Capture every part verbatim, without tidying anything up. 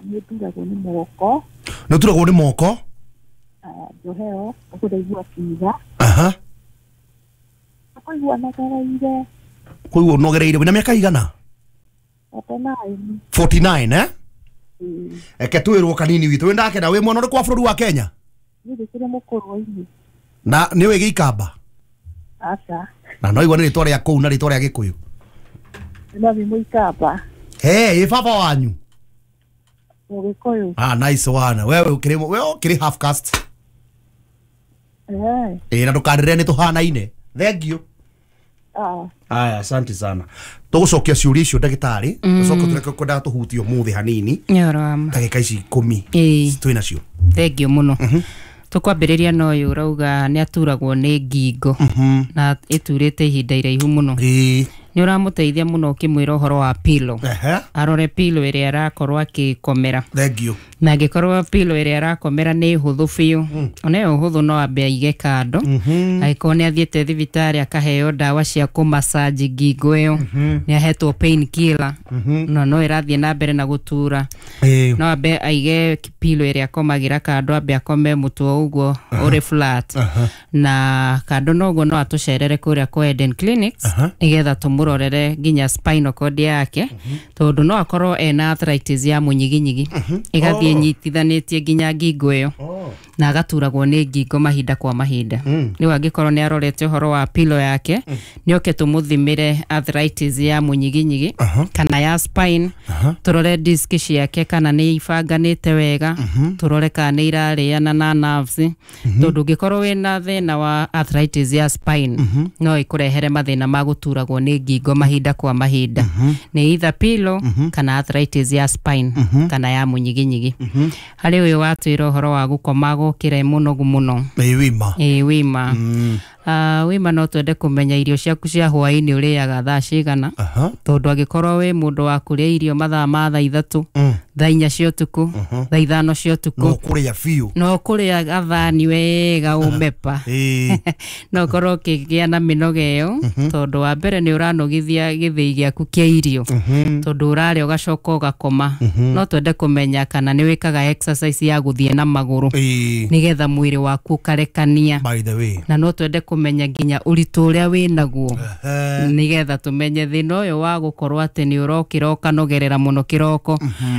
Nĩ nduragwo nĩ moko. Nĩ ũturagwo nĩ moko? Njohero, ũguo ndaigua kiuga. Aha. Kũigua nogereire. Kũigua ũnogereire. Wĩna mĩaka igana? forty-nine. forty-nine, eh? Eke twĩrwo kanini witũ. Wĩndakena wĩ mwana ũrĩkũ wa bũrũri wa Kenya? Niĩ ndĩkĩrĩ mũkũrũ-inĩ. Na nĩ ũĩ Gĩikamba? Aca. Na no igua nĩ rĩtwa rĩa kũu na rĩtwa rĩa Gĩkũyũ. No nĩ Mũikamba. Hey, ĩ baba wanyu? Mũgĩkũyũ. Ah, nice one. Wewe ũkĩrĩ wewe ũkĩrĩ half caste. Eh. Ĩ na ndũkanĩrĩre nĩ tũhanaine. Thank you. Ah. Aya, asante sana. Tũgũcokia ciũria icio ndagĩtarĩ, tũcoke tũreke kwendaga tũhutie ũmũthĩ hanini. Nĩ ũhoro wa ma. Ndagĩka ici ikũmi Ĩĩ. twĩ nacio. Thank you mũno. Tũkwambĩrĩria na ũyũ ũrauga nĩ aturagwo nĩ ngingo na ĩturĩte ihinda iraihu mũno. Ĩĩ. Nĩ ũramũteithia mũno ũkĩmwĩra ũhoro wa pillow. Ehe. Arore pillow ĩrĩa arakorwo akĩkomera. Thank you. Na angĩkorwo pillow ĩrĩa arakomera nĩ hũthũ biũ, ona ĩyo hũthũ no ambe aige kando. Angĩkorwo nĩ athiĩte thibitarĩ akaheo ndawa cia kũmassage ngingo ĩyo, nĩ ahetwo pain killer, na no ĩrathiĩ na mbere na gũtura. Ĩĩ. No ambe aige pillow ĩrĩa akomagĩra kando, ambe akome mũtwe ũguo ũrĩ flat. Na kando na ũguo no atũcerere kũrĩa kwa Eden Clinics nĩgetha tũmũrorere nginya spinal cord yake, tondũ no akorwo ena arthritis ya mũnyiginyigi ĩgathiĩ ĩnyitithanĩtie nginya ngingo ĩyo na agaturagwo nĩ ngingo mahinda kwa mahinda. Rĩu angĩkorwo nĩ arorete ũhoro wa pillow yake, nĩ oke tũmũthimĩre arthritis ya mũnyiginyigi kana ya spine, tũrore disc ciake kana nĩ ibanganĩte wega, tũrore kana nĩ irarĩana na nerves, tondũ ũngĩkorwo wĩna thĩna wa arthritis ya spine no ĩkũrehere mathĩna ma gũturagwo nĩ ngingo mahinda kwa mahinda. Nĩ either pillow kana arthritis ya spine kana ya mũnyiginyigi. Harĩ ũyũ watwĩra ũhoro wa gũkoma gũkĩra mũnogu mũno. Ĩĩ wima. Ĩĩ wima. Uh, wima no twende kũmenya irio ciaku cia hwaĩ-inĩ ũrĩaga thaa cigana, tondũ angĩkorwo wĩ mũndũ wa kũrĩa irio mathaa ma thaa ithatũ, thaa inya cia ũtukũ, thaa ithano cia ũtukũ, no kũrĩa biũ, no kũrĩa gathani wega ũmepa, no ũkorwo ũkĩgĩa na mĩnoga ĩyo, tondũ wa mbere nĩ ũranogithia gĩthĩi gĩaku kĩa irio, tondũ ũrarĩa ũgacoka ũgakoma. No twende kũmenya kana nĩ wĩkaga exercise ya gũthiĩ na magũrũ nĩgetha mwĩrĩ waku ũkarekania. By the way, na no twende kũmenya nginya ũritũ ũrĩa wĩnaguo nĩgetha tũmenye thĩna ũyũ wa gũkorwo atĩ nĩ ũrokĩra ũkanogerera mũno kĩroko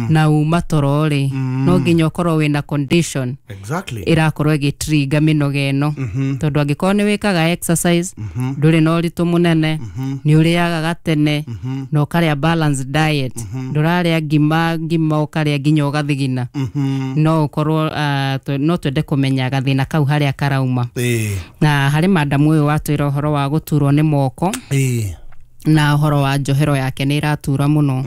na uma toro rĩ, no nginya ũkorwo wĩna condition exactly ĩrakorwo ĩgĩtrigger mĩnoga ĩno, tondũ angĩkorwo nĩ wĩkaga exercise, ndũrĩ na ũritũ mũnene, nĩ ũrĩaga gatene na ũkarĩa balanced diet, ndũrarĩa ngima ngima ũkarĩa nginya ũgathigina, no ũkorwo no twende kũmenya gathĩna kau harĩa karauma. Na harĩ madamu ũyũ watwĩra ũhoro wa gũturwo nĩ moko na ũhoro wa njohero yake nĩ ĩratura mũno.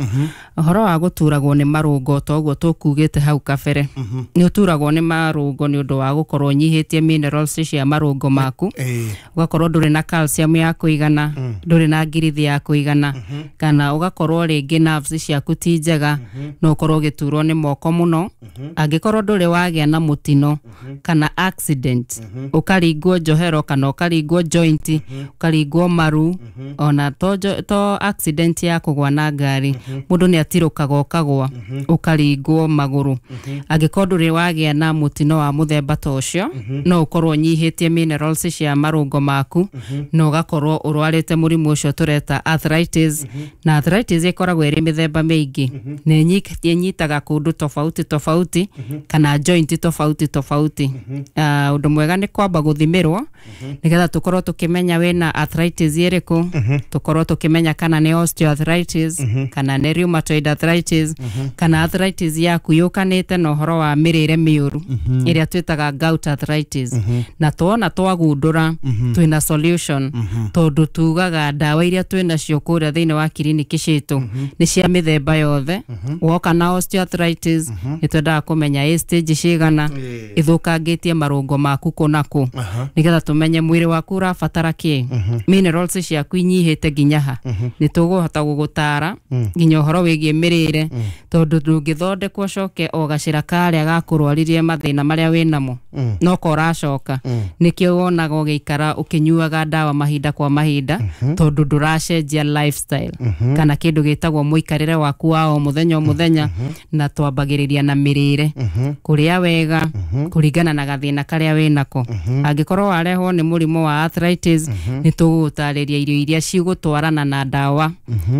Ũhoro wa gũturagwo nĩ marũngo ta ũguo tũkugĩte hau kabere, nĩ ũturagwo nĩ marũngo nĩ ũndũ wa gũkorwo ũnyihĩtie minerals cia marũngo maku, ũgakorwo ndũrĩ na calcium ya kũigana, ndũrĩ na ngirithi ya kũigana, kana ũgakorwo rĩngĩ nerves ciaku ti njega, no ũkorwo ũgĩturwo nĩ moko mũno. Angĩkorwo ndũrĩ wagĩa na mũtino kana accident, ũkaringwo njohero kana ũkaringwo joint, ũkaringwo maru, ona to to accident ya kũgwa na ngari, mũndũ nĩ atirũkaga ũkagwa ũkaringwo magũrũ. Angĩkorwo ndũrĩ wagĩa na mũtino wa mũthemba ta ũcio, no ũkorwo ũnyihĩtie minerals cia marũngo maku na ũgakorwo ũrwarĩte mũrimũ ũcio tũreta arthritis. Na arthritis ĩkoragwo ĩrĩ mĩthemba mĩingĩ, na ĩnyitaga kũndũ tofauti tofauti kana joint tofauti tofauti. Ũndũ mwega nĩ kwamba gũthimĩrwo nĩgetha tũkorwo tũkĩmenya wĩna arthritis ĩrĩkũ, tũkorwo tũkĩmenya kana nĩ osteoarthritis, kana nĩ rheumatoid arthritis, kana arthritis yaku yũkanĩte na ũhoro wa mĩrĩre mĩũru ĩrĩa twĩtaga gout arthritis. Na tuona twagundũra twĩna solution, tondũ tugaga ndawa iria twĩnacio kũrĩa thĩinĩ wa kiriniki citũ nĩ cia mĩthemba yothe. Woka na osteoarthritis nĩ twendaga kũmenya ĩ stage cigana, ĩthũkangĩtie marũngo maku kũ na kũ, nĩgetha tũmenye mwĩrĩ waku ũrabatara kĩ, minerals ciaku inyihĩte nginya ha nĩ tũgũhota gũgũtara nginya ũhoro wĩgiĩ mĩrĩre tondũ ndũngĩthondekwo ũcoke o gacĩra karĩa gakũrwaririe mathĩna marĩa wĩnamo no ko ũracoka. Nĩkĩo wonaga ũgĩikara ũkĩnyuaga ndawa mahinda kwa mahinda tondũ ndũracenjia lifestyle kana kĩndũ gĩtagwo mũikarĩre waku wa o mũthenya o mũthenya. Na twambagĩrĩria na mĩrĩre, kũrĩa wega kũringana na gathĩna karĩa wĩnako. Angĩkorwo warehwo nĩ mũrimũ wa arthritis, nĩ tũgũgũtarĩria irio iria cigũtwarana na ndawa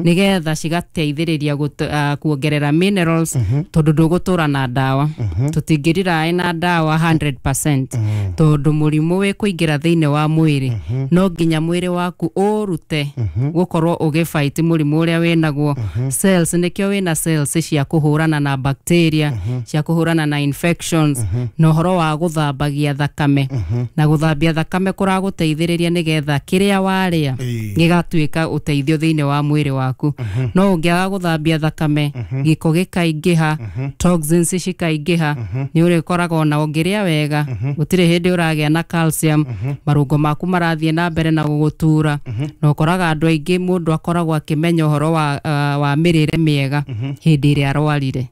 nĩgetha cigateithĩrĩria gũt- ah, kuongerera minerals tondũ ndũgũtũra na ndawa. Tũtingĩriraĩ na ndawa hundred percent tondũ mũrimũ wĩ kũingĩra thĩinĩ wa mwĩrĩ, no nginya mwĩrĩ waku ũrute gũkorwo ũgĩfight mũrimũ ũrĩa wĩnaguo. Cells, nĩkĩo wĩna cells cia kũhũrana na bacteria, cia kũhũrana na infections, na ũhoro wa gũthambagia thakame, na gũthambia thakame kũragũteithĩrĩria nĩgetha kĩrĩa warĩa Ĩĩ. gĩgatuĩka ũteithio thĩinĩ wa mwĩrĩ waku. No ũngĩaga gũthambia thakame, gĩko gĩkaingĩha, toxins cikaingĩha, nĩ ũrĩkoraga ona ũngĩrĩa wega gũtirĩ hĩndĩ ũragĩa na calcium, marũngo maku marathiĩ na mbere na gũgũtura. Na ũkoraga andũ aingĩ, mũndũ akoragwo akĩmenya ũhoro wa, uh, wa mĩrĩre mĩega hĩndĩ ĩrĩa arwarire.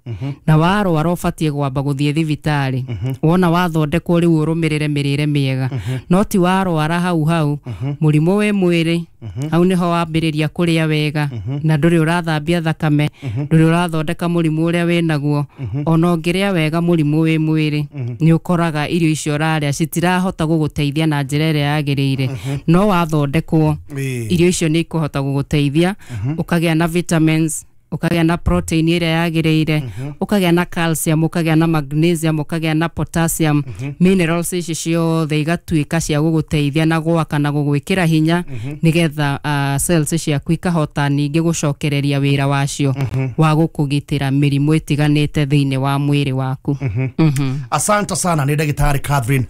Na warwara ũbatiĩ gwamba gũthiĩ thibitarĩ, wona wathondekwo rĩu ũrũmĩrĩre mĩrĩre mĩega, no ti warwara hau hau mũrimũ wĩ mwĩrĩ, hau nĩho wambĩrĩria kũrĩa wega na ndũrĩ ũrathambia thakame, ndũrĩ ũrathondeka mũrimũ ũrĩa wĩnaguo. Ona ũngĩrĩa wega mũrimũ wĩ mwĩrĩ, nĩ ũkoraga irio icio ũrarĩa citirahota gũgũteithia na njĩra ĩrĩa yagĩrĩire. No wathondekwo, Ĩĩ. irio icio nĩ ikũhota gũgũteithia, ũkagĩa na vitamins, ũkagĩa na protein ĩrĩa yagĩrĩire, ũkagĩa na calcium, ũkagĩa na magnesium, ũkagĩa na potassium. Minerals ici ciothe igatuĩka cia gũgũteithia na gwaka na gũgwĩkĩra hinya nĩgetha uh, cells ciaku ikahota ningĩ gũcokereria wĩra wacio wa gũkũgitĩra mĩrimũ ĩtiganĩte thĩinĩ wa mwĩrĩ waku. Mhm. Asante sana. Nĩ ndagĩtarĩ Catherine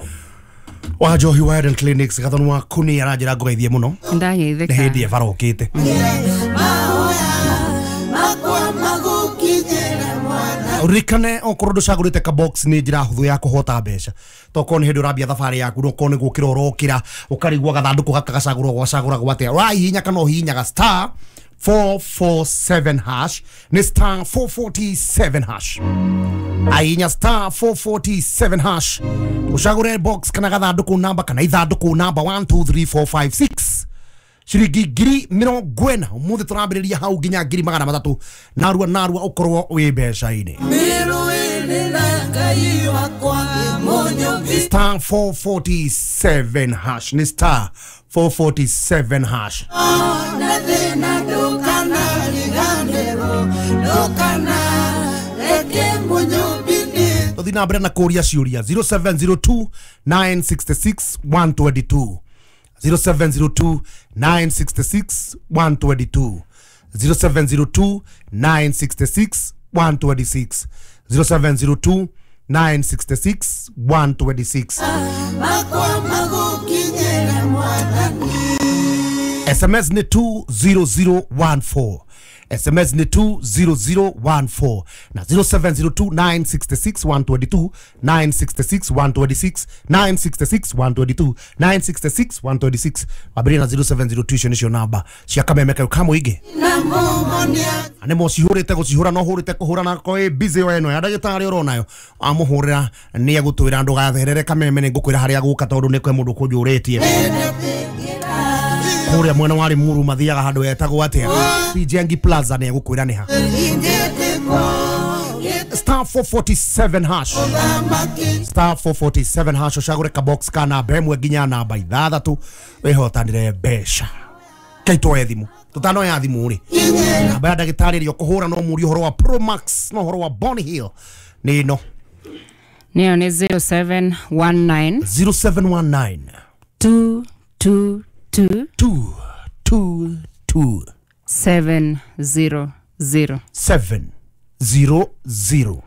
wa Njohi wa Eden Clinics. Gathoni waku nĩ aranjĩra ngũgeithie mũno. Nĩ Ndageithĩka. hĩndĩ ebara ũkĩte. Mahoya makwa magũkinyĩre mwana. Ririkane okorwo ndũcagũrĩte ka box, nĩ njĩra hũthũ ya kũhota mbeca. Tokorwo nĩ hĩndĩ ũrambia thabarĩ yaku, nokorwo nĩ gũkĩra ũrokĩra ũkarigwo gathandũkũ gaka gacagũrwo gwacagũragwo atĩa, ũrahihinya kana ũhihinyaga star four four seven hash. Nĩ star four four seven hash. Ainya star four four seven hash, ũcagũre box kana gathandũkũ namba kana ithandũkũ namba one two three four five six, ciringi ngiri mĩrongo ĩna. Ũmũthĩ tũrambĩrĩria hau nginya ngiri magana matatũ. Narua narua ũkorwo wĩ mbeca-inĩ. Mĩrũĩrĩra Ngai wakwa mũnyũmbi. Star four four seven hash, nĩ star four four seven hash. Na thĩna ndũkanariganĩrwo, ndũkana reke mũnyũmbi nĩ Tũthiĩ na mbere na kũria ciũria. zero seven zero two nine six six one two two, zero seven zero two nine six six one two two, zero seven zero two nine six six one two six, zero seven zero two nine six six one two six. Makwa magũkinyĩre mwathani. S M S ni two zero zero one four, S M S ni two zero zero one four na zero seven zero two nine six six one two two, nine six six one two six, nine six six one two two, nine six six one two six. Wambĩrĩria na zero seven zero two. Icio nĩcio namba cia kameme kau ka mũingĩ. Na mũmonia. Nĩ mũcihũrĩte gũcihũra no hũrĩte kũhũra na ko ĩ busy we ĩno ya ndagĩtarĩ ũronayo amũhũrĩra nĩ egũtwĩra ndũgatherere kameme. Nĩ ngũkwĩra harĩa gũka tondũ nĩ kwĩ mũndũ kũnjũrĩtie kũrĩa mwena wa Limuru mathiaga handũ etagwo atĩa, P J Plaza. Nĩ egũkwĩra nĩ ha. Ingĩtĩkwo Star four four seven hash, gĩthamaki. Star four four seven hash, ũcagũre ka box ka namba ĩmwe nginya namba ithathatũ wĩhotanĩre mbeca. Kaitwoe thimũ. Tũtanoya thimũ rĩ, namba ya ndagĩtarĩ ĩrĩa ũkũhũra no mũrie ũhoro wa Promax no ũhoro wa Bonny Hill nĩ ĩno. Nĩyo nĩ zero seven one nine zero seven one nine two two two two two two seven zero zero. seven zero zero.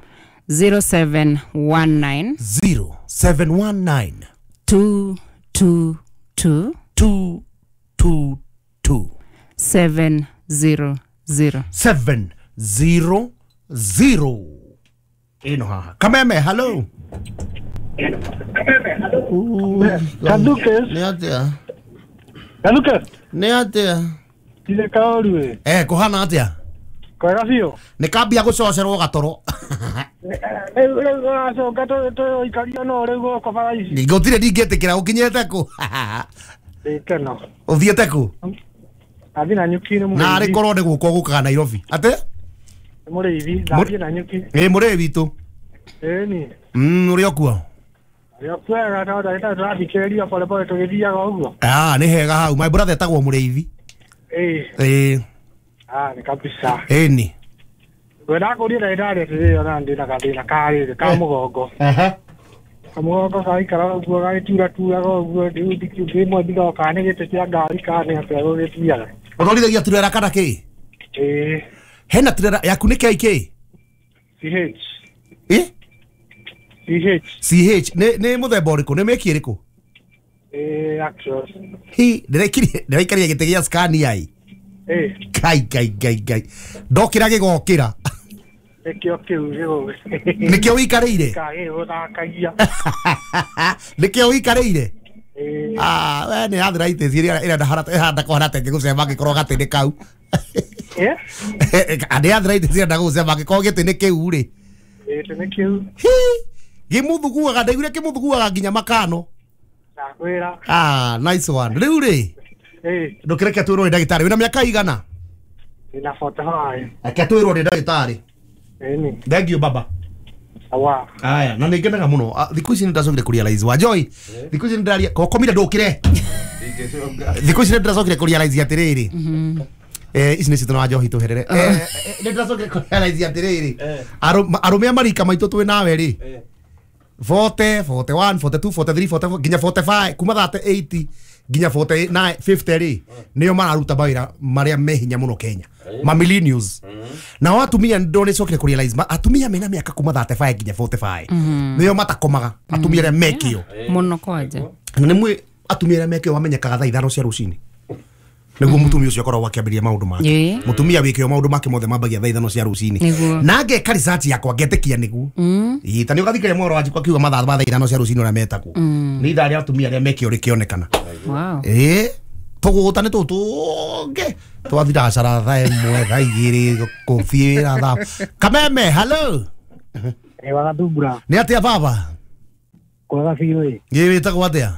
zero seven one nine zero seven one nine two two two two two two seven zero zero. seven zero zero. Ĩno haha kameme. Hello. Kaluke. Nĩ atĩa? Kaluke. Nĩ atĩa? Tire kaoru we. Eh kuhana atia? Kwega biũ. Nĩ kambia gũcocerwo gatoro. Rĩu rĩu ũracoka tũikario no rĩu gũkũ bara ici. Gũtirĩ ndingĩtĩkĩra ũkinyĩte kũ? Ndĩkeno. Ũthiĩte kũ? Athiĩ na nyuki nĩ mũrĩithi. Narĩ korwo nĩ gũka ũgũkaga Nairobi. Atĩ? Nĩ mũrĩithi, ndathiĩ na nyuki. Ĩ mũrĩi witũ. Ĩni. Mm, ũrĩ o kuo? Ũrĩ o kwega no ndagĩtarĩ tũrathikĩrĩria pole pole tũgĩthiaga ũguo. Ah, nĩ hega hau. My brother etagwo mũrĩithi. Ĩ. Ĩ. Ah, nĩ kabisa. Ĩni. Ngwendaga kũria ndagĩtarĩ atĩrĩrĩ ona ndĩna gathĩna ka rĩrĩ ka mũgongo. Aha. Kamũgongo gaikara ũguo gagĩturaturaga ũguo rĩu rĩmwe ndigaga kana nĩ gĩtĩ kĩa ngari kana nĩ atĩa gũgĩthiaga. Ũtwarithagia turera kana kĩ? Ĩĩ. Hena turera yaku nĩ K K? C H. Ĩ? C H. C H nĩ nĩ mũthemba ũrĩkũ? Nĩ mĩki ĩrĩkũ? Ĩĩ Actros. Hi, ndĩraikaria ndĩraikaria gĩtĩ gĩa Scania ĩ. Ĩĩ. Kai kai kai kai. Ndokĩra gĩgokĩra. Nĩkĩo kĩu gĩgũ. Nĩkĩo wĩikarĩire? Gagĩgũthakagia. Nĩkĩo wĩikarĩire? Ĩĩ. Ah, we nĩ arthritis ĩrĩa ĩrenda harata ĩhanda kũhana ta ĩngĩgũcema angĩkorwo gatĩ-inĩ kau. Ĩ? Nĩ arthritis ĩrenda gũgũcema angĩkorwo gĩtĩ-inĩ kĩu rĩ. Gĩtĩ-inĩ kĩu. Hi! Gĩmũthuguaga, ndaiguire kĩmũthuguaga nginya makano. Ndakwĩra. Ah, nice one. Rĩu rĩ? Ĩĩ. Ndũkĩreke twĩrwo nĩ ndagĩtarĩ. Wĩna mĩaka igana? Ndĩna forty-five. Reke twĩrwo nĩ ndagĩtarĩ. Ĩni. Thank you baba. Awa. Aya, na nĩngenaga mũno. Thikũ ici nĩndacokire kũrealize wa Joy. Thikũ ici nĩndĩraria kokomire ndũkĩre. Thikũ ici nĩndĩracokire kũrealize atĩrĩrĩ. Eh ici nĩcio tũna Joy tũherere. Eh nĩndĩracokire kũrealize atĩrĩrĩ. Arũme a marika maitũ twĩ nawe rĩ. forty, forty-one, forty-two, forty-three, forty-four nginya forty-five kuma thirty-eight nginya forty-nine, fifty rĩ nĩo mararuta mawĩra marĩa me hinya mũno Kenya. Ma millennials. Nao atumia ndonecokire kũrealize atumia mena mĩaka kuma thirty-five nginya forty-five nĩo matakomaga atumia arĩa mekĩo mũno kwanja. Na nĩ mwĩ atumia arĩa mekĩo mamenyekaga thaa ithano cia rũcinĩ. Nĩguo mũtumia ũcio akoragwo akĩambĩrĩria maũndũ make. Mũtumia wĩkĩo maũndũ make mothe mambagia thaa ithano cia rũcinĩ. Na ngeka research yakwa ngetĩkia nĩguo. Ĩĩ ta nĩ ũgathikĩrĩria mohoro wa njikwa akiuga mathaa ma thaa ithano cia rũcinĩ ũrĩa metagwo. Nĩ ithaa rĩa atumia arĩa mekĩo rĩkĩonekana. Wow. Ĩĩ tũgũta nĩ tũtũ tũngĩ twathira cara thaa ĩmwe thaa igĩrĩ kũthiĩ wĩra thaa. Kameme, hello. Ĩ wagathumbura. Nĩ atĩa baba? Kwega biũ ĩ. Ĩ wĩtagwo atĩa?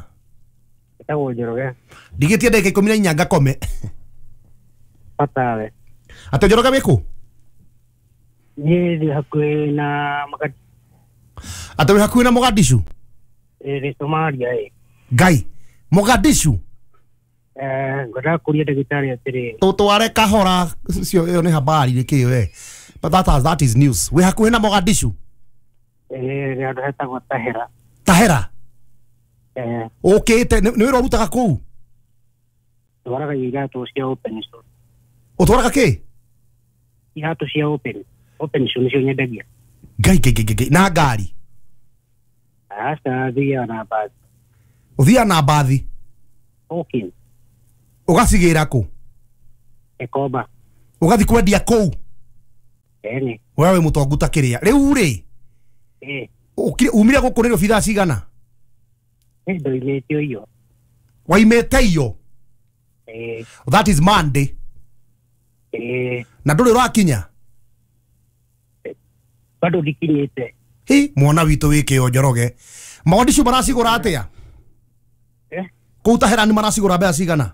Wĩtagwo Njoroge. Ndigĩtie ndagĩka ikũmi na inya ngakome. Batawe. Atĩ Njoroge wĩ kũ? Niĩ ndĩ hakuhĩ na Mogadishu. Atĩ wĩ hakuhĩ na Mogadishu? Ĩ ndĩ Somalia ĩ. Ngai, Mogadishu? Eh, ngwendaga kũria ndagĩtarĩ atĩrĩrĩ. Tũtware kahora cio ĩyo nĩ habari nĩ kĩ we. But that is, that is news. Wĩ hakuhĩ na Mogadishu? Ĩ nĩ handũ hetagwo Tahera. Tahera? Eh. Ũkĩte nĩ wĩra ũrutaga kũu? Twaraga iratũ cia open shoe. Ũtwaraga kĩ? Iratũ cia open. Open shoe nĩcio nyendagia. Ngai ngai ngai ngai na ngari? Aca thiaga na mbathi. Ũthiaga na mbathi? Okay. Ũgacigĩra kũ? Gĩkomba. Ũgathiĩ kwendia kũu? Ĩni. We wĩ mũtongu ta kĩrĩa. Rĩu rĩ? Ĩ. Umire gũkũ Nairobi thaa cigana? Ĩ ndoimĩte iyo. Waimĩte iyo? Ĩ. That is Monday. Ĩ. Na ndũrĩ ũrakinya? Bado ndikinyĩte. Hi, mwana witũ wĩ kĩo Njoroge. Mogadishu maracigũra atĩa? Eh? Kũu Tahera nĩ maracigũra mbeca cigana?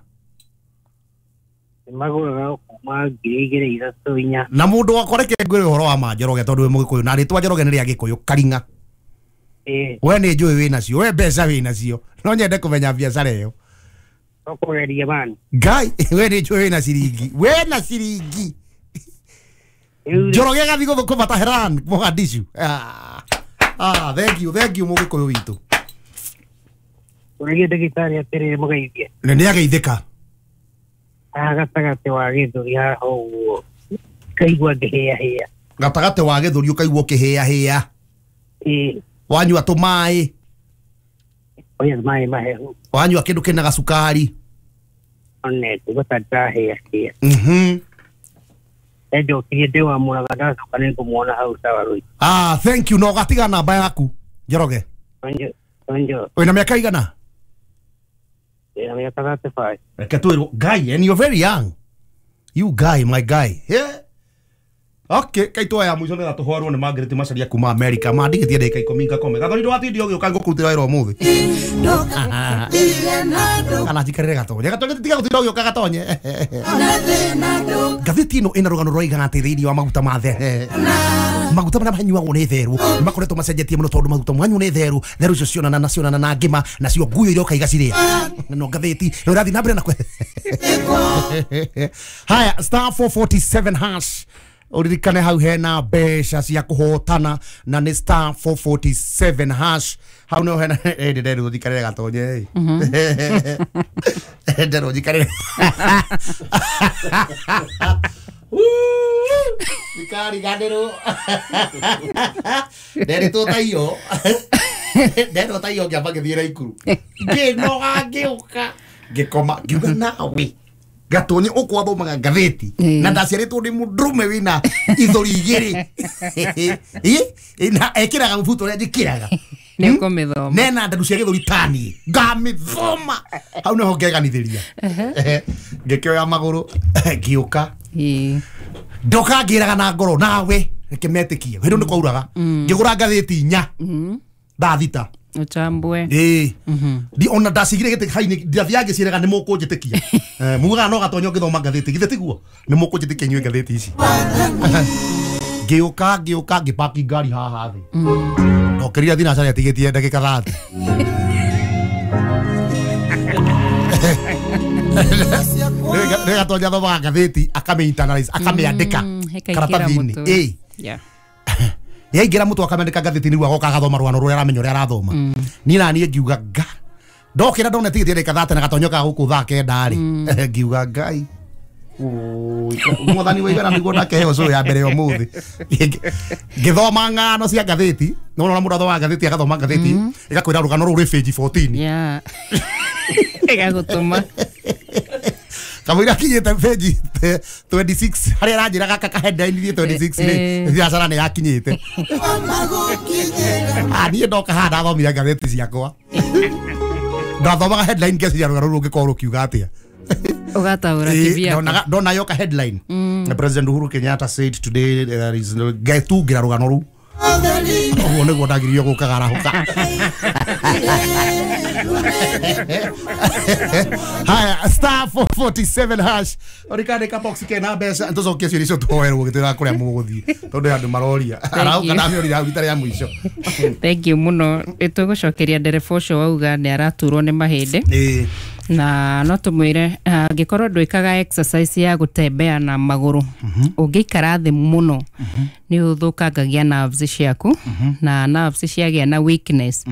Magũraga kuma ngiri igĩrĩ ithatũ inya. Na mũndũ wakwa reke ngwĩre ũhoro wa ma Njoroge tondũ wĩ mũgĩkũyũ na rĩtwa Njoroge nĩ rĩa Gĩkũyũ Karing'a. Ĩ. We nĩ njũĩ wĩ nacio, we mbeca wĩ nacio. No nyende kũmenya biacara ĩyo. Tũkũgeria mani. Ngai, we nĩ njũĩ wĩ na ciringi. Wĩ na ciringi. Njoroge agathiĩ gũthũkũma Taheran, Mogadishu. Ah, ah, thank you, thank you mũgĩkũyũ witũ. Ũragia ndagĩtarĩ atĩrĩrĩ mũgeithie. Na nĩ ageithĩka. Haha gatagatĩ wa gĩthũri haha ũguo ngaigua ngĩhĩahĩa. Gatagatĩ wa gĩthũri ũkaigua ũkĩhĩahĩa. Ĩ. Wanyua tũmaĩ. Oya maĩ mahehu. Wanyua kĩndũ kĩna gacukari. One ngũigua ta ndĩrahĩahĩa. Mhm. Njokirie ndĩ wa Mũraga ndacoka nĩ ngũmuona hau sawa rũi. Ah, thank you. Na ũgatiga namba yaku Njoroge. Onjo, onjo. Wĩna mĩaka igana? Ndĩna mĩaka thirty-five. Reke twĩrwo Ngai, and you're very young. You guy, my guy. Yeah. Okay, kaitwa ya mwico nä tåhwarwo nä Margaret Macharia kuma America mandigä tie ndä ka ikå ngakome gathoni ndwatindi å gä å ka ngå kå rutä ra wä ra å må thä kana njikarä re gatonye gatonye tiga gå tinda å gä å ka gatonye ngathä ti ä no ä na rå gano rwaigaga atä thä inä wa maguta ma the maguta marĩa manyuagwo nĩ therũ nĩ makoretwo macenjetie mũno tondũ maguta manyuo nĩ therũ therũ icio cionana na cionana na ngima nacio nguyo iroka igacirĩa no ngathĩti ĩyo ĩrathiĩ na mbere na kwe haya star four forty-seven hash uririkane hau hena mbeca cia kuhotana na nĩ star four forty-seven hash hau nĩho hena ĩ ndĩrerwo njikarĩre gatonye ĩ nderwo njikarĩre ndikariganĩrwo nderitwo ta iyo nderitwo ta iyo ngĩamba ngĩthiĩ Naikuru ngĩnoga ngĩũka ngĩkoma ngiuga nawe gatonye ukwathomaga ngathĩti na ndaciarĩtwo nĩ mũndũrũme wĩna ithũri igĩrĩ na ekĩraga mũbuto ũrĩa njĩkĩraga nĩ ũkũmĩthoma nena nderu cia gĩthũri taniĩ ngamĩthoma hau nĩho ngeganithĩria ngĩkĩoya magũrũ ngĩũka ndoka ngĩraga na ngoro nawe reke metĩkie hĩndĩ nĩ kwauraga ngĩgũra ngathĩti inya thaa thita uchambwe ĩĩ ndi ona ndacigire gĩtĩ hainĩ ndathiaga ngĩciĩraga nĩ mũkũnjĩtĩkia mugaga no gatonyo ngĩthoma ngathĩti githĩ tiguo nĩ mũkũnjĩtĩkia inyuĩ ngathĩti ici ngĩũka ngĩũka ngĩpaki ngari haha thĩ ndokĩrire thinacara ĩtigĩtie ndagĩka thate nĩ gatonya athomaga ngathĩti akamĩ internalize akamĩandĩka karatathi-inĩ ĩĩ yaingĩra mũtwe akamĩandĩka ngathĩti nĩguo agoka agathoma rũgano rũrĩa aramenya ũrĩa arathoma niĩ na niĩ ngiuga nga ndokĩra ndona tigĩtie ndagĩka thate na gatonyo ka gũkũ thaa kenda rĩ ngiuga ngai mwathani wa igana nĩguo ndakeheo cũrũ ya mbere ya ũmũthĩ ngĩthoma ng'ano cia ngathĩti nĩwona mũndũ athomaga ngathĩti agathoma ngathĩti ĩgakwĩra rũgano rũu rwĩ page fourteen ĩgagũtũma kamũira akinyĩte page twenty-six harĩa aranjĩra gaka ka headline thiĩ twenty-six rĩ biacara nĩ yakinyĩte niĩ ndoka haha ndathomire ngathĩti ciakwa ndathomaga headline ngeciria rũgano rũu rũngĩkorwo rũkiuga atĩa ũgataũra kivyako ndona yoka headline President Uhuru Kenyatta said today there is no ngetungĩra rũgano rũu ũguo nĩguo ndagĩrĩirio gũkaga arahũka haya star four forty-seven hash ũrikandĩka box kena mbeca tũcokie ciũria icio tũhoerwo gĩtwĩraga kũrĩa mũgũthiĩ tondũ he andũ maroria arahũka ndamĩũria hau rita rĩa mũico thank you mũno ĩtũgũcokeria ndereba ũcio wauga nĩ araturwo nĩ mahĩndĩ na no tũmwĩre angĩkorwo ndwĩkaga exercise ya gũtembea na magũrũ ũngĩikara thĩ mũno nĩ ũthũkangagia nerves ciaku na nerves ciagĩa na weakness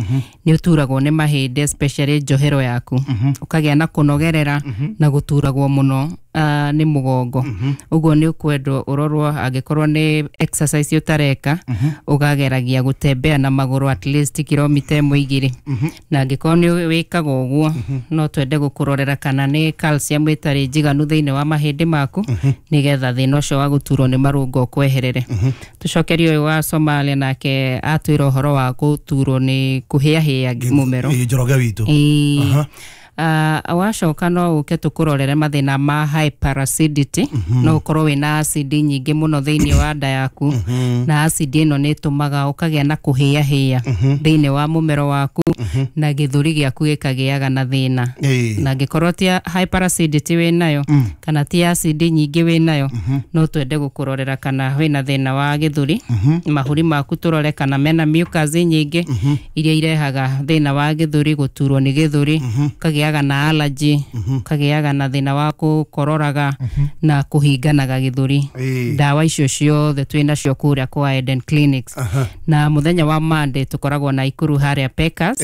nĩ ũturagwo nĩ mahĩndĩ especially njohero yaku ũkagĩa na kũnogerera na gũturagwo mũno nĩ mũgongo ũguo nĩ ũkwendwo ũrorwo angĩkorwo nĩ exercise ũtareka ũgageragia gũtembea na magũrũ at least kilomita ĩmwe igĩrĩ na angĩkorwo nĩ wĩkaga ũguo no twende gũkũrorera kana nĩ calcium ĩtarĩ njiganu thĩinĩ wa mahĩndĩ maku nĩgetha thĩna ũcio wa gũturwo nĩ marũngo ũkweherere tũcokerie ũyũ wa Somalia nake atwĩra ũhoro wa gũturwo nĩ kũhĩahĩa mũmero Njoroge witũ Uh, wacoka no ũke tũkũrorere mathĩna ma hyperacidity mm -hmm. no ũkorwo wĩna acid nyingĩ mũno thĩinĩ wa nda yaku mm -hmm. na acid ĩno nĩ ĩtũmaga ũkagĩa na kũhĩahĩa mm -hmm. thĩinĩ wa mũmero waku mm -hmm. na gĩthũri gĩaku gĩkagĩaga na thĩna hey. Na angĩkorwo ti hyperacidity wĩnayo mm. kana ti acid nyingĩ wĩnayo mm -hmm. no twende gũkũrorera kana wĩna thĩna wa gĩthũri mm -hmm. mahũri maku tũrore kana mena mucus nyingĩ mm -hmm. iria irehaga thĩna wa gĩthũri gũturwo nĩ gĩthũri mm -hmm. kagĩa na allergy mm -hmm. kagiaga na thina wa kukororaga mm -hmm. na kuhinganaga githuri ndawa icio ciothe twina cio kuria kwa Eden Clinics uh -huh. Na muthenya wa Monday tukoragwo na Ikuru haria Pekas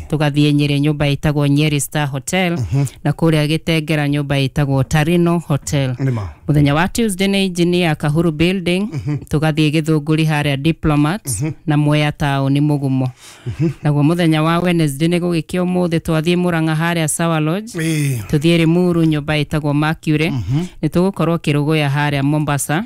tugathie Nyeri nyumba itagwo Nyeri Star Hotel mm -hmm. na kuria Gitengera nyumba itagwo Tarino Hotel muthenya wa Tuesday ni engineer Kahuru Building mm -hmm. tugathie Githunguri haria Diplomats mm -hmm. na Mwea taoni Mugumo mm -hmm. Naguo muthenya wa Wednesday ni gugikia umuthi twathie Murang'a haria Sawa Lodge tuthie Limuru nyumba itagwo Mercury mm -hmm. ni tugukorwo Kiruguya haria Mombasa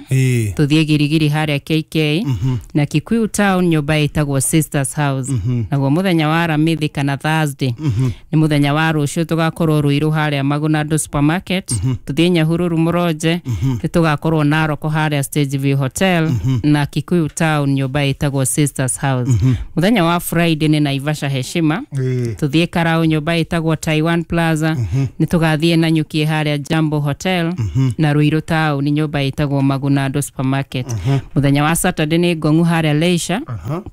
tuthie Girigiri haria K K mm -hmm. na Kikuyu Town nyumba itagwo Sisters House mm -hmm. Naguo muthenya wa Aramithi kana Thursday mm -hmm. ni muthenya wa rucio tugakorwo Ruiru haria Magunado Supermarket mm -hmm. tuthie Nyahururu Muronje mm Nĩ tũgakorwo Narok harĩa Stage View Hotel na Kikuyu Town nyũmba ĩtagwo Sisters House. Mũthenya wa Friday nĩ Naivasha Heshima. Ĩĩ. Tuthiĩ Karau nyũmba ĩtagwo Taiwan Plaza. Nĩ tũgathiĩ Nanyuki harĩa Jambo Hotel na Ruiru Town nyũmba ĩtagwo Magunado Supermarket. Mũthenya wa Saturday nĩ Ngong'u harĩa Leisure.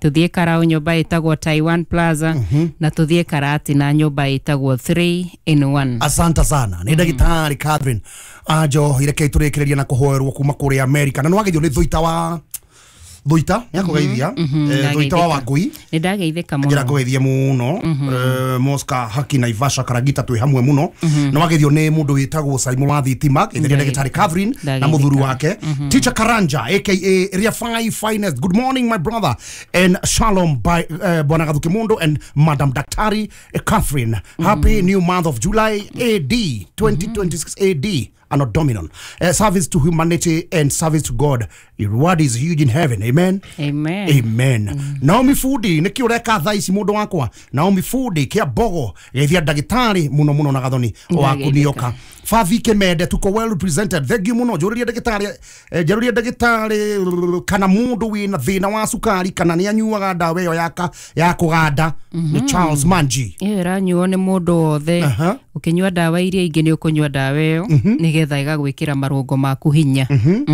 Tuthiĩ Karau nyũmba ĩtagwo Taiwan Plaza na tuthiĩ Karati na nyũmba ĩtagwo three in one. Asante sana. Nĩ ndagĩtarĩ Catherine Anjohi, reke tũrĩkĩrĩria na kũhoerwo kuma kũrĩa America. Na nĩwageithio nĩ Thuita wa Thuita, nĩakũgeithia. Eh, Thuita wa Wangui. Nĩ ndageithĩka Njĩra mũno. ngũgeithie mũno. Eh, Mosca Haki Naivasha Karagita twĩ hamwe mũno. Na wageithio nĩ mũndũ wĩtagwo Simon wa Thitima, geithĩria ndagĩtarĩ Catherine na Ndageithĩka. mũthuri wake. Teacher Karanja aka Area five Finest. Good morning my brother and shalom by uh, Bwana Gathuki Mundu and Madam Daktari Catherine. Happy new month of July A D twenty twenty-six A D Anno Dominion. Uh, service to humanity and service to God. Your reward is huge in heaven. Amen. Amen. Amen. Naomi Fudi, nĩkĩ ũreka thaa ici mũndũ wakwa? Naomi Fudi kĩa Mbogo, geithia ndagĩtarĩ mũno mũno na Gathoni wa Ndageithĩka. Kunioka. Favi Kemende, tuko well represented. Thank you mũno. Njũrĩria ndagĩtarĩ, eh, njũrĩria ndagĩtarĩ kana mũndũ wĩna thĩna wa cukari kana nĩ anyuaga ndawa ĩyo ya ka- ya kũganda. Nĩ Charles Manji. Ĩyo ĩranyuo nĩ mũndũ wothe. Aha. Ũkĩnyua ndawa iria ingĩ nĩ ũkũnyua ndawa ĩyo nĩgetha ĩgagwĩkĩra marũngo maku hinya. Mhm.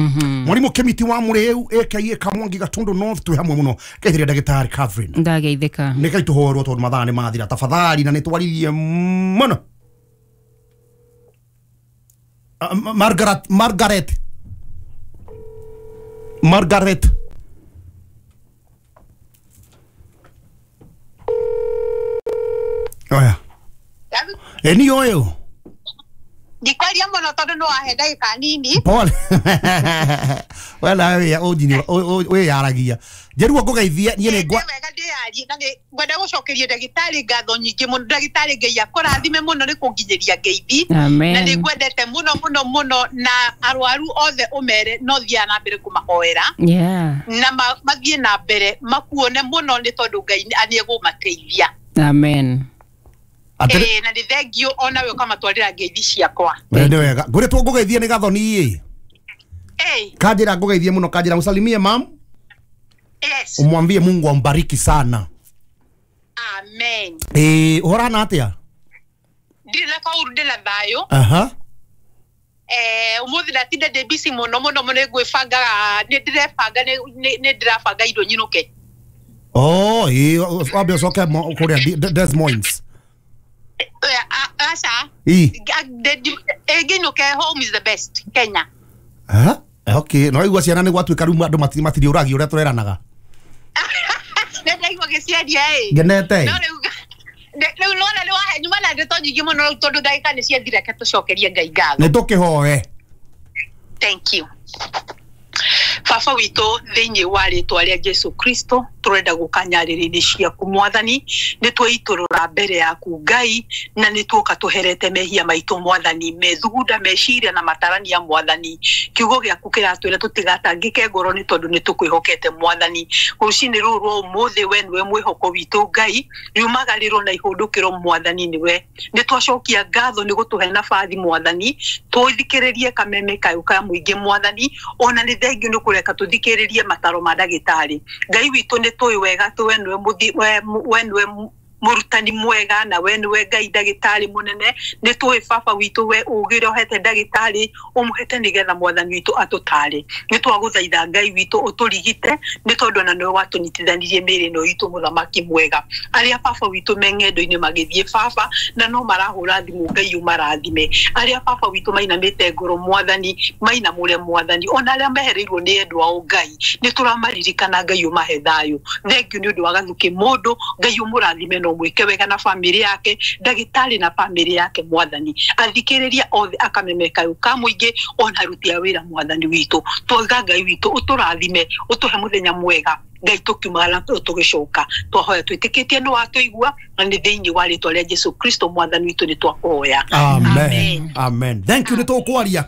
Mwarimu Kemiti wa Mũrĩu aka Kamwangi Gatundu North twĩ hamwe mũno. Geithĩria ndagĩtarĩ Catherine. Ndageithĩka. Nĩ kai tũhoerwo tondũ mathaa nĩ mathira tafadhali na nĩ twaririe mũno. Ah, Ma- Margaret Margaret Margaret Oya. Eni oyo. Ndikwaria mũno tondũ nĩ wahe ndagĩka nini. Pole. Wena we ujini we yaragia. Njeruo ngũgeithie niĩ nĩ ngwa Nĩ wega ndĩyarie na nĩ ngwenda gũcokeria ndagĩtarĩ ngatho nyingĩ mũno. Ndagĩtarĩ Ngai akũrathime mũno nĩ kũnginyĩria ngeithi. Amen. Na nĩ ngwendete mũno mũno mũno na arwaru othe ũmere no thiaga na mbere kũmahoera. Yeah. Na ma- mathiĩ na mbere makuone mũno nĩ tondũ Ngai nĩ egũmateithia. Amen. Atĩrĩ Ĩĩ, na nĩ thengiũ onawe ũkamatwarĩra ngeithi ciakwa. nĩ wega. Ngũrĩtwo ngũgeithie nĩ Gathoni ĩ. Ĩĩ, Kanjĩra ngũgeithie mũno, kanjĩra mũsalimie mam. yes. Umwambie Mungu ambariki sana. Amen. Eh, ũhorana atĩa? Ndirĩ na kaũru, ndĩ na thayũ. Aha. Eh, ũmũthĩ ndatinda ndĩ busy mũno mũno mũno, nĩ ngwĩbangaga, nĩ ndĩrebanga, nĩ- nĩ nĩ ndĩrabanga indo nyinũke. Oh, ĩ wambe ũcoke mo- kũrĩa Des- Des Moines. Eh, a- aca. Ĩ. Ngĩinũke home is the best Kenya. Ha? Okay, no igua ciana nĩ gwatuĩka rĩu andũ mati- matiriũragio ũrĩa tũreranaga. Nĩ ndaigua gĩciaria ĩ. Ngenete. No rĩu nĩ- rĩu nona nĩ wahe nyuma na ndeto nyingĩ mũno rĩu tondũ ndagĩka nĩ ciathira, reke tũcokerie Ngai ngatho. Nĩ tũkĩhoe. Thank you. Baba witũ thĩinĩ wa rĩtwa rĩa Jesu Kristo tũrenda gũka nyarĩrĩ-inĩ ciaku mwathani, nĩ tweitũrũra mbere yaku Ngai na nĩ tuoka tũherete mehia maitũ mwathani, methugunda meciria na matarania mwathani. Kiugo gĩaku kĩratwĩra tũtigatangĩke ngoro nĩ tondũ nĩ tũkwĩhokete mwathani. Rũcinĩ rũrũ rwa ũmũthĩ we nĩwe mwĩhoko witũ Ngai, riumagarĩrwo na ihũndũkĩro mwathani nĩwe. Nĩ twacokia ngatho nĩ gũtũhe nabathi mwathani, tũthikĩrĩrie kameme kayũ ka mũingĩ mwathani, ona nĩ thengiũ nĩ kũreka tũthikĩrĩrie mataro ma ndagĩtarĩ. Ngai witũ nĩ tũĩ wega atĩ we nĩwe mũthi- we we nĩwe mũrutani mwega na we nĩwe Ngai ndagĩtarĩ mũnene. Nĩ tũĩ baba witũ we ũgĩ ũrĩa ũhete ndagĩtarĩ ũmũhete nĩgetha mwathani witũ atũtare. Nĩ twagũthaitha Ngai witũ ũtũrigite nĩ tondũ ona nĩwe watũnyitithanirie mĩĩrĩ ĩno itũ mũthamaki mwega. Arĩa baba witũ me ng'endo-inĩ magĩthiĩ baba na no marahũra thimũ Ngai ũmarathime. Arĩa baba witũ mainamĩte ngoro mwathani mainamũre mwathani, ona arĩa mehereirwo nĩ endwa ao Ngai nĩ tũramaririkana Ngai ũmahe thayũ. Thengiũ nĩ ũndũ wa Gathuki mũndũ, Ngai ũmũrathime na ũmwĩke wega na bamĩrĩ yake, ndagĩtarĩ na bamĩrĩ yake mwathani. Athikĩrĩria othe akameme kayũ ka mũingĩ ona aruti a wĩra mwathani witũ. Twauga Ngai witũ ũtũrathime, ũtũhe mũthenya mwega Ngai tũkiumagara tũgĩcoka. Twahoya twĩtĩkĩtie nĩ watũigua na nĩ thĩinĩ wa rĩtwa rĩa Jesu Kristo mwathani witũ nĩ twakũhoya. Amen. Amen. Thank you nĩ tũkwaria.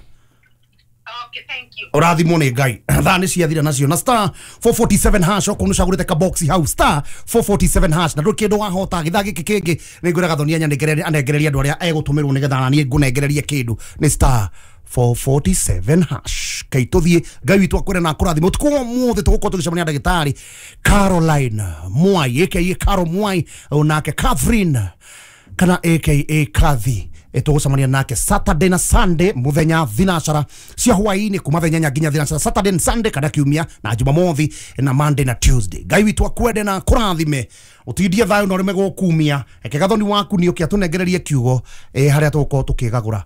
Okay, thank you. Ũrathimwo nĩ Ngai. Thaa nĩ ciathira nacio na star four forty-seven hash okorwo nĩ ũcagũrĩte ka box hau star four forty-seven hash na ndũrĩ kĩndũ wahota gĩthaa gĩkĩ kĩngĩ nĩ ngwĩra Gathoni anengererie andũ arĩa egũtũmĩrwo nĩgetha naniĩ ngũnengererie kĩndũ nĩ star four forty-seven hash. Kai tuthie Ngai witũ akwĩre na akũrathime. Ũtukũ wa ũmũthĩ tũgũkorwo tũgĩcemania na ndagĩtarĩ Caroline Mwai aka Caro Mwai, onake Catherine kana aka Kathy. Tũgũcemania nake Saturday na Sunday muthenya thinacara cia hwaĩ-inĩ kuma thaa inyanya nginya thinacara, Saturday and Sunday kana kiumia na Jumamothi na Monday na Tuesday. Ngai witũ akwende na akũrathime, ũtindie thayũ na ũreme gũkumia. Reke gathoni waku nĩ ũke atũnengererie kiugo eh, harĩa tũgũkorwo tũkĩgagũra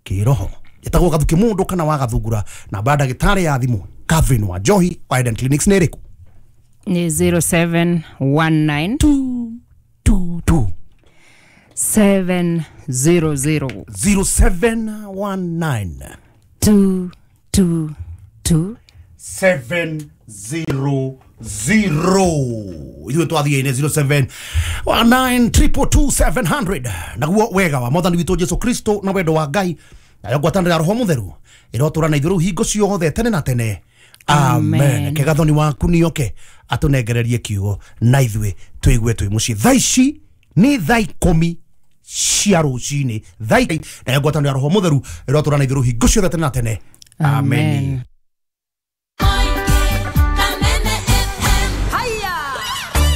kĩroho. Ĩtagwo Gathuki Mũndũ kana wa Gathungura. Namba ya ndagĩtarĩ ya thimũ Catherine wa Njohi wa Eden Clinics nĩ ĩrĩkũ? Ni zero seven one nine two two two seven zero zero zero seven one nine two two two seven zero zero. Ithuĩ twathiĩ-inĩ zero seven one nine triple two seven hundred. Naguo wega wa Mwathani witũ Jesu Kristo na wendo wa Ngai nayo ngwatanĩro ya Roho Mũtheru ĩrotũra na ithuĩ rĩu hingo ciothe tene na tene. Amen. Amen. Kegathoni waku nĩoke atũnengererie kiugo na ithuĩ tũigue twĩ mũciĩ. Thaa ici nĩ thaa ikũmi cia rũcinĩ, thaa nayo ngwatanĩro ya Roho Mũtheru ĩrotũra na ithuĩ rĩu hingo ciothe tene na tene. Amen. Amen.